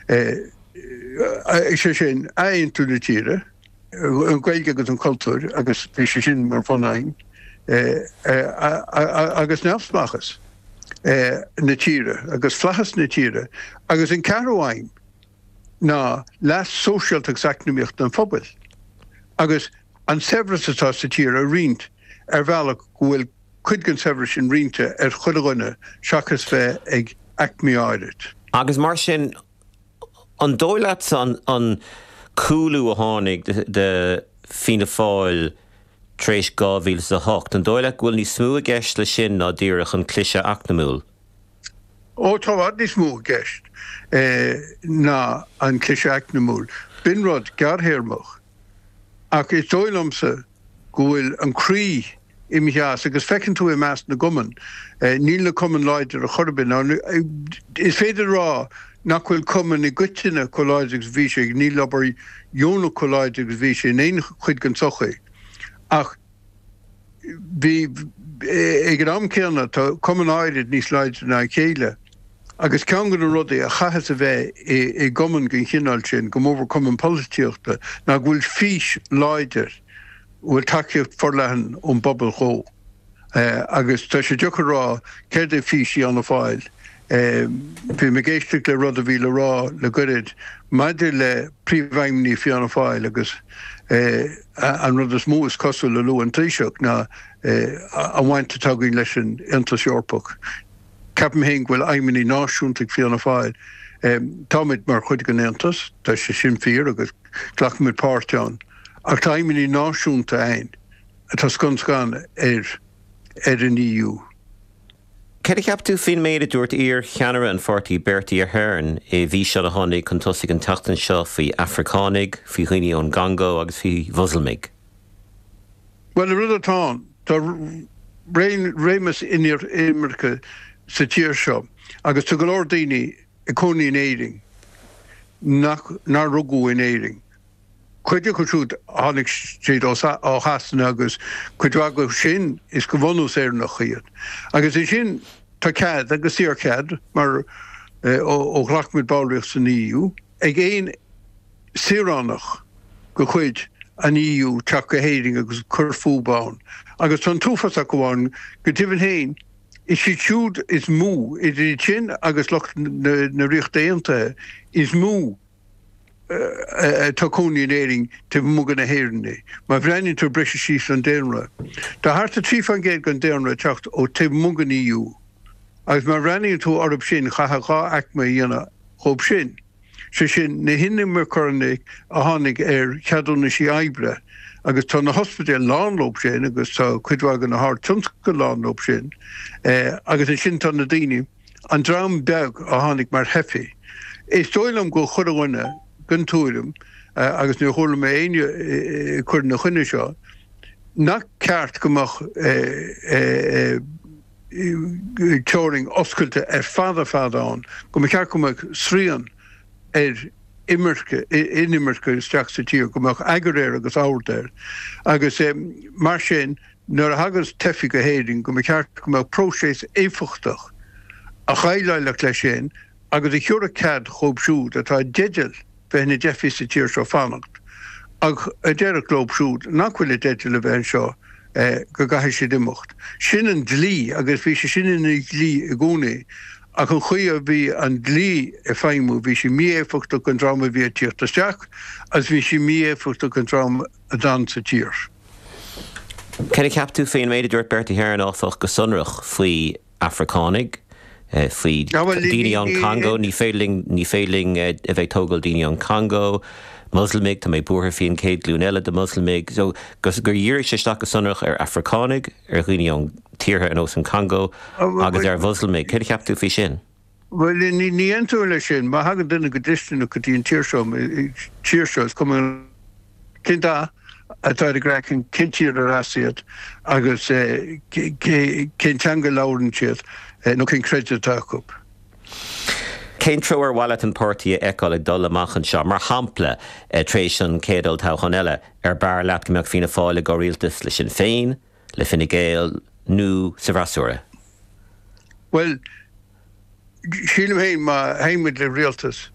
Sé sin, athaontú na tíre, an Ghaeilge agus an cultúr agus bhí sé sin mar bhun-aidhm, agus neamhspleáchas na tíre agus flaitheas na tíre. Agus an ceathrú aidhm ná leas sóisialta agus eacnamaíochta an phobail agus an saibhreas atá sa tír a roinnt ar bhealach go bhfuil cuid den saibhreas sin roinnte ar chuile dhuine seachas bheith ag aicmí áirid. Agus mar sin, an dóigh leatsa an cúlú a tháinig de Fianna Fáil tar éis 2008, an dóigh leat go bhfuil níos mó i gceist leis sin ná díreach an cliseadh eacnamúil? Ó, tá i bhfad níos mó i gceist ná an cliseadh eacnamúil. B'in rud gearrthéarmach. Ach is dóigh liomsa go bhfuil an croí imithe as agus feiceann tú i measc na gcumann, níl na cumainn láidir ar chor ar bith. Now, is féidir a rá nach bhfuil cumainn i gcoitinne chomh láidir agus a bhí sé, níl obair dheonach chomh láidir agus a bhí sé in aon chuid den tsochaí ach bhí, ag an am céanna, tá cumainn áirid níos láidre ná a chéile agus ceann de na rudaí a chaithfeas a bheith i gcumann den chineál sin, go mórmhór cumann polaitíochta, ná go bhfuil fís láidir, a bhfuil tacaíocht forleathan ón bpobal dhó. Agus tá sé deacair a rá céard é fís Fhianna Fáil. Bhí mé ag éisteacht le rud a bhí le rá le goirid maidir le príomhfheidhmeannaigh Fianna Fáil agus an rud is mó is cosúil a luaigh an Taoiseach ná an bhaint atá againn leis an Aontas Eorpach. Ceapaim féin go bhfuil aidhmeanna náisiúnta ag Fianna Fáil. Táimid mar chuid den Aontas, tá sé sin fíor agus glacaimid páirt ann, ach tá aidhmeanna náisiúnta againn atá scun scan ar ar an EU. Céard a cheap tú faoin méid a dúirt iar-cheannaire an pháirtí Bertie Ahern i bhfíseán a tháinig chun tosaigh an tseachtain seo faoi Afracánaigh, faoi dhaoine ón gCongó agus faoi Mhoslamaigh? Bhuel, an rud atá ann, tá réimeas inimirce sa tír seo agus tá go leor daoine ag cónaí in Éirinn nach, nár rugadh in Éirinn. Cuid acu siúd, tháinig siad ó Shasana agus cuid mhaith acu sin, is de bhunús Éireannach iad. Agus ansin tá cead, agus saorchead, mar ó ghlac muid ballraíocht san EU, ag aon saoránach de chuid an EU teacht go hÉirinn agus cur fúthu ann. Agus tá an t-uafás acu ann, go deimhin féin, is iad siúd is mó, idir iad sin agus lucht na Ríochta Aontaithe, is mó atá ag cónaí in Éirinn taobh amuigh de na hÉireannaigh. Má bhreathnaíonn tú ar briseadh síos an daonra, tá thart ar 3% den daonra ag teacht ó taobh amuigh den EU agus má bhreathnaíonn tú orthu sin chaithfeá dhá aicme a dhéanamh dhóibh sin, sé sin na hinimirceoirí a tháinig ar cheadúnaisí oibre agus tá na hospidéil lán leo sin agus tá cuid mhaith de na hardtionscail lán leo sin agus ansin tá na daoine An dream beag a tháinig mar theifigh. Is dóigh liom go bhfuil chuile dhuine den tuairim, agus níor chuala mé éinne ag cur ina choinne seo, nach ceart go mbeadh teorainn oscailte ar fad ar fad ann, go mba cheart go mbeadh srian ar imirce, inimirce isteach sa tír, go mbeadh eagar air agus ord air. Agus mar sin, Nuair a thagas teifigh go hÉirinn go mba cheart go mbeadh próiseas éifeachtach a dhéileálfadh leis sin agus a thiúrfadh cead dhóibh siúd atá i dteideal bheith ina dteifigh sa tír seo fanacht ach a déarfadh leo siúd nach bhfuil i dteideal a bheith anseo go gcaithfidh siad imeacht. Sin an dlí agus bhí sé sin ina dhlí i gcónaí ach an chaoi a bhí an dlí ag feidhmiú bhí sé mí-éifeachtach don dream a bhí ag tíocht isteach agus bhí sé mí-éifeachtach don dream a d'fhan sa tír. Céard a cheap tú faoin méid a dúirt Bertie Ahern, áfach, go sonrach faoi Afracánaigh, faoi daoine ón Congo, ní féidir linn, ní féidir linn a bheith ag tógáil daoine ón Congo, Moslamaigh, tá mé buartha faoi an chéad ghlúin eile de Mhoslamaigh. So, gur dhírigh sé isteach go sonrach ar Afracánaigh, ar dhaoine ón tíortha ar nós an Congo agus ar Mhoslamaigh. Céard a cheap tú faoi sin? Bhuel, ní aontóinn leis sin. Má thagann duine go dlisteanach go dtí an tír seo, tír seo, is cuma. Cén dath atá ar a gcraiceann, cén tír ar as iad agus cén teanga a labhrann siad nó cén creideamh atá acu. Cén treo ar mhaith leat an páirtí a fheiceáil ag dul amach anseo? Mar shampla, tar éis an chéad olltoghchán eile, ar b'fhearr leat go mbeadh Fianna Fáil i gcomhrialtas le Sinn Féin, le Fine Gael nó sa bhfreasúra? Bhuel, sílim féin má théimid le rialtas.